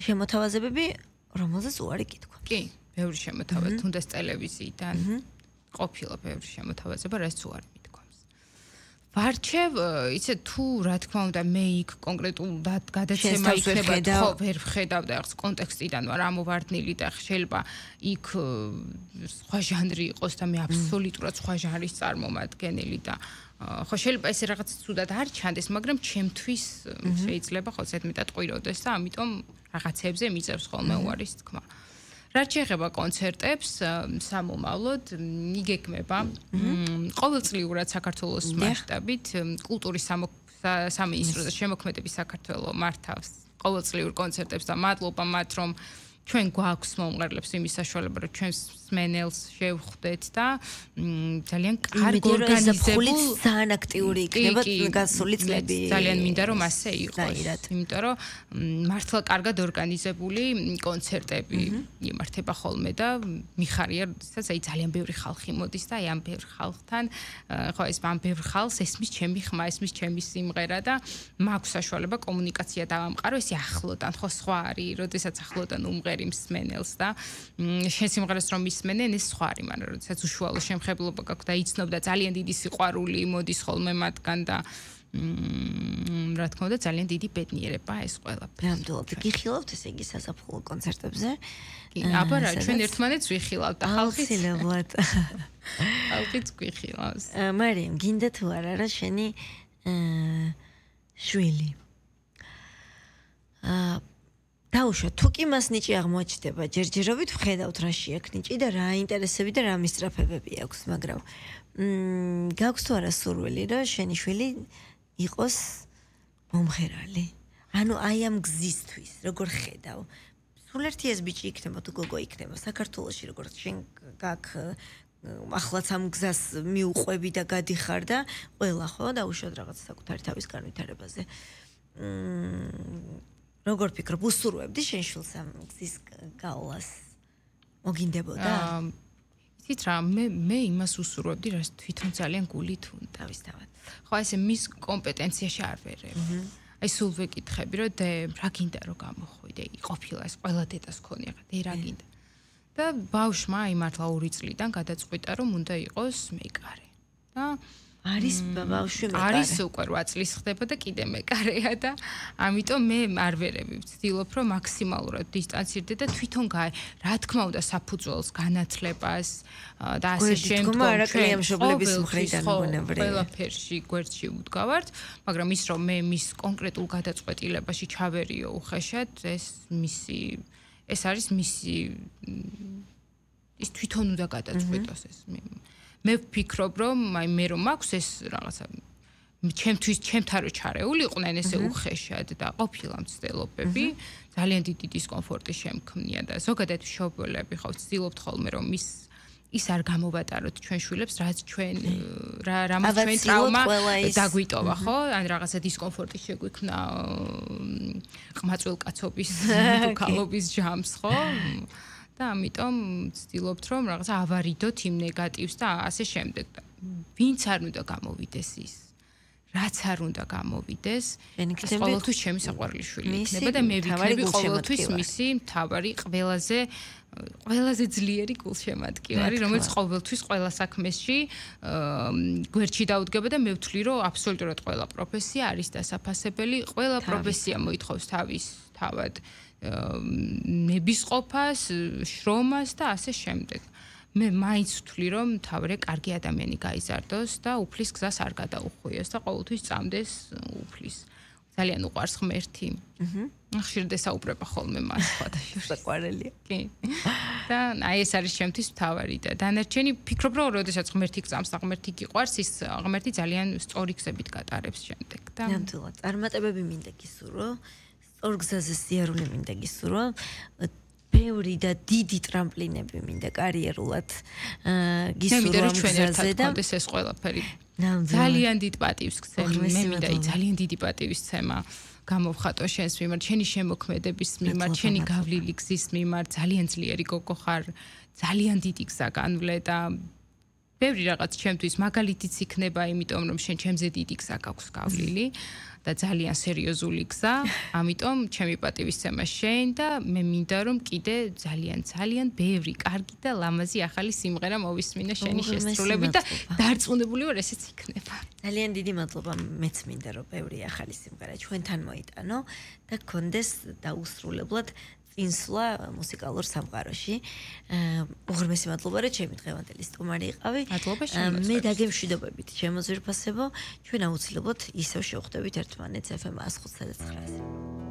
შემოთავაზებები, რომელზეც უარი გითქვა. კი, ბევრი შემოთავაზება, თუნდაც ტელევიზიიდან ყოფილა ბევრი შემოთავაზება, რაც უარი მithქვამს. ვარჩევ, იცი თუ რა თქმა უნდა მე იქ კონკრეტულად გადაცემა იქნება, ხო, ვერ ვხედავ და ახს კონტექსტიდან ვარ ამოვარდნილი და შეიძლება იქ სხვა ჟანრი იყოს და მე აბსოლუტურად სხვა ჟანრის წარმომადგენელი და ხო შეიძლება ეს რაღაც ცუდად არ ჩანდეს, მაგრამ ჩემთვის შეიძლება ხო ზედმეტად ყვიროდეს და ამიტომ რაღაცებზე მიწევს ხოლმე უარის თქმა. რაც შეეხება კონცერტებს სამომავლოდ იგეგმება ყოველწლიურად საქართველოს მასშტაბით კულტურის სამინისტროს შემოქმედების საქართველოს მართავს ყოველწლიურ კონცერტებს და მადლობა მათ რომ ჩვენ გვაქვს მომღერლებს იმის საშუალება რომ ჩვენს მსმენელს შევხვდეთ და ძალიან კარგ ორგანიზებულ ძალიან აქტიური იქნება გასული წლები ძალიან მინდა რომ ასე იყოს იმიტომ რომ მართლა კარგად ორგანიზებული კონცერტები იმართება ხოლმე და მიხარია როდესაც აი ძალიან ბევრი ხალხი მოდის და აი ამ ბევრ ხალხთან ხო ეს ამ ბევრ ხალხს ესმის ჩემი ხმა ესმის ჩემი სიმღერა და მაქვს საშუალება კომუნიკაცია დავამყარო ესე ახლოდან ხო სხვა არის როდესაც ახლოდან უმღერი მსმენელს და შენ სიმღერას რომ ისმენენ ეს სხვა არის მაგრამ როდესაც უშუალო შემხებლობა გაქვს და იცნობ და ძალიან დიდი სიყვარული მოდის ხოლმე მათგან და რა თქმა უნდა ძალიან დიდი ბედნიერება ეს ყველაფერი. ნამდვილად გიხილავთ ესე იგი საზაფხულო კონცერტებზე? კი, აბა რა ჩვენ ერთმანეთს ვიხილავთ და ხალხიც ხალხიც გვიხილავს. მარიამ, გინდა თუ არა რა შენი შვილი? დაუშვა, თუ კი მას ნიჭი აღმოაჩნდება, ჯერჯერობით ვხედავთ რა შეაქვს ნიჭი და რა ინტერესები და რა მისწრაფებები აქვს, მაგრამ გაქვს თუ არა სურვილი, რომ შენი შვილი იყოს მომღერალი? ანუ აი ამ გზისთვის, როგორ ხედავ? სულ ერთი ეს ბიჭი იქნება თუ გოგო იქნება საქართველოში, როგორც შენ გაქვს ახლაც ამ გზას მიუყვები და გადიხარ და ყველა ხო დაუშვათ რაღაც საკუთარი თავის განვითარებაზე. როგორ ფიქრობ, უსურვებდი შენ შვილს ამ გზის გავლას? მოგინდებოდა? იცით რა, მე იმას უსურვებდი, რაც თვითონ ძალიან გულით უნდა. თავისთავად. ხო, ესე მის კომპეტენციაში არ ვერებ. აი სულ ვეკითხები, რომ რა გინდა რომ გამოხვიდე, ყოფილა ეს ყველა დედას ქონია, რა გინდა. და ბავშვმა აი მართლა 2 წლიდან გადაწყვიტა, რომ უნდა იყოს მეკარე. და არის ბავშვი მეკარე. არის უკვე 8 წლის ხდება და კიდე მეკარეა და ამიტომ მე არ ვერები ვცდილობ რომ მაქსიმალურად დისტანცირდე და თვითონ რა თქმა უნდა საფუძველს განათლებას და ასე შემდგომ კლიენტების მხრიდან მონევრე ყველაფერში გვერდში ვდგავართ მაგრამ ის რომ მე მის კონკრეტულ გადაწყვეტილებაში ჩავერიო უხეშად ეს არის მისი ის თვითონ უნდა გადაწყვეტოს ეს მე ვფიქრობ რომ აი მე რომ მაქვს ეს რაღაცა ჩემთან რო ჩარეული იყვნენ ესე უხეშად და ყოფილა მცდელობები ძალიან დიდი დისკომფორტი შემქმნია და ზოგადად მშობლები ხო ვცდილობთ ხოლმე რომ ის არ გამოვატაროთ ჩვენ შვილებს რაც ჩვენ რამაც ჩვენ ტრავმა დაგვიტოვა ხო ან რაღაცა დისკომფორტი შეგვიქმნა ყმაწვილ კაცობის დუქალობის ჯამს ხო და ამიტომ ვცდილობთ რომ რაღაცა ავარიდოთ იმ ნეგატივს და ასე შემდეგ და ვინც არ უნდა გამოვიდეს ის რაც არ უნდა გამოვიდეს ეს ყოველთვის ჩემი საყვარელი შვილი იქნება და მე ვიქნები ყოველთვის მისი მთავარი ყველაზე ძლიერი გულშემატკივარი რომელიც ყოველთვის ყველა საქმეში გვერდში დაუდგება და მე ვთვლი რომ აბსოლუტურად ყველა პროფესია არის დასაფასებელი ყველა პროფესია მოითხოვს თავის თავად ნებისყოფას, შრომას და ასე შემდეგ. მე მაინც ვთვლი რომ თავრე კარგი ადამიანი გაიზარდოს და უფლის გზას არ გადაუხვიოს და ყოველთვის წამდეს უფლის. ძალიან უყვარს ღმერთი. ხშირად ესაუბრება ხოლმე მას სხვადასხვა საყვარელია. კი. და აი ეს არის ჩემთვის მთავარი და დანარჩენი ფიქრობ რომ როდესაც ღმერთი გწამს და ღმერთი გიყვარს ის ღმერთი ძალიან სწორი გზებით გატარებს შემდეგ და ნამდვილად წარმატებები მინდა გისურვო. ორ გზაზე სიარული მინდა გისურვო. ბევრი და დიდი ტრამპლინები მინდა კარიერულად გისურვო ამ გზაზე და ეს ყველაფერი ძალიან დიდ პატივს გცემ მე მინდა ძალიან დიდი პატივისცემა გამოვხატო შენს მიმართ შენი შემოქმედების მიმართ შენი გავლილი გზის მიმართ ძალიან ძლიერი გოგო ხარ ძალიან დიდი გზა განვლე და ბევრი რაღაც ჩემთვის მაგალითიც იქნება, იმიტომ რომ შენ ჩემზე დიდი გზა გაქვს გავლილი და ძალიან სერიოზული გზა, ამიტომ ჩემი პატივისცემა შენ და მე მინდა რომ კიდე ძალიან ბევრი კარგი და ლამაზი ახალი სიმღერა მოვისმინე შენი შესრულებით და დარწმუნებული ვარ ესეც იქნება. ძალიან დიდი მადლობა, მეც მინდა რომ ბევრი ახალი სიმღერა ჩვენთან მოიტანო და გქონდეს დაუსრულებლად წინსვლა მუსიკალურ სამყაროში. უღრმესი მადლობა, რომ ჩემი დღევანდელი სტუმარი იყავი. მადლობა შენს. მე დაგემშვიდობებით ჩემო ძვირფასებო, ჩვენ აუცილებლად ისევ შევხვდებით ერთმანეთს FM 105.9-ზე.